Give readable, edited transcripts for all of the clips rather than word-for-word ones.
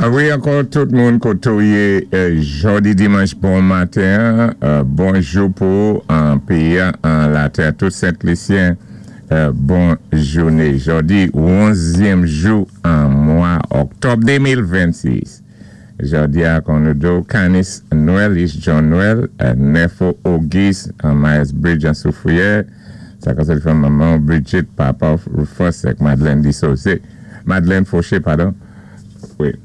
Wi, ankò tout moun koté ou yé jòdi dimanch bon maten, bonjou pou an péyi an latè, tout Sent Lisyen, bon jouné. Jòdi 11èm jou an mwa òktòb 2026. Jòdi a kon nou do Canis Noël, is John Noël, 9 Auguste an Myers Bridge an Soufrière. Sa ka sé manman Bridget, papa Rufus ak Madeleine Dissosé. Madeleine Fauché, padon. Wi.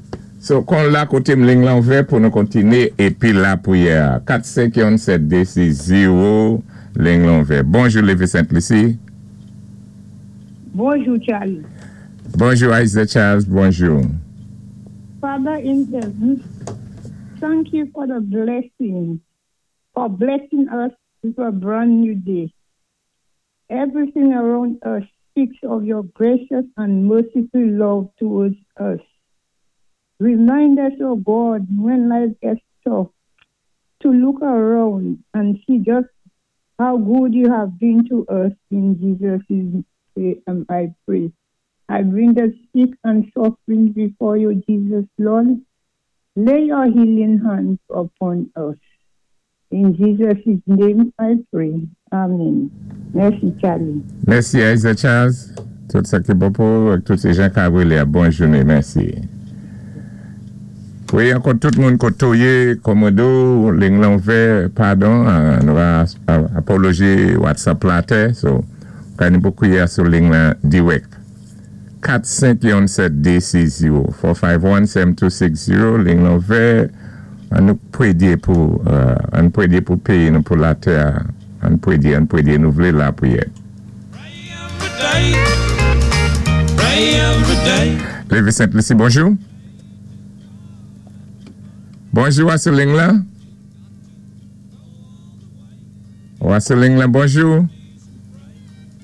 So, kon la koté liy lan ouvè pou nou kontiné épi lapwiyè. 4 5 1 7 2 6 0 liy lan ouvè. Bonjou Lévis Sainte-Lucie. Bonjou, Charlie. Bonjou Isaac Charles, bonjou. Father in heaven, thank you for the blessing, for blessing us with a brand new day. Everything around us speaks of your gracious and merciful love towards us. Remind us, oh God, when life gets tough, to look around and see just how good you have been to us. In Jesus' name I pray. I bring the sick and suffering before you, Jesus, Lord. Lay your healing hands upon us. In Jesus' name I pray. Amen. Mèsi, Charlie. Mèsi, Isaac Charles. Tout sa ki bon pou tout sé jan ka bòn jouné. Mèsi. Wi, ankò tout moun koté ou yé, kòmando, liy lan ouvè, padon, nou va apology WhatsApp la tè, so, ka nou pou kwiyé sou liy lan dirèk. 4 5 1 7 2 6 0 451 7260 liy lan ouvè, annou pwédyé pou annou pwédyé pou péyi nou pou latè, annou pwédyé nou vlé lapwiyè. Pray every day. Pray every day. Lévis Sainte-Lucie, bonjou. Bonjou, Wasseling la. Wasseling la, bonjou.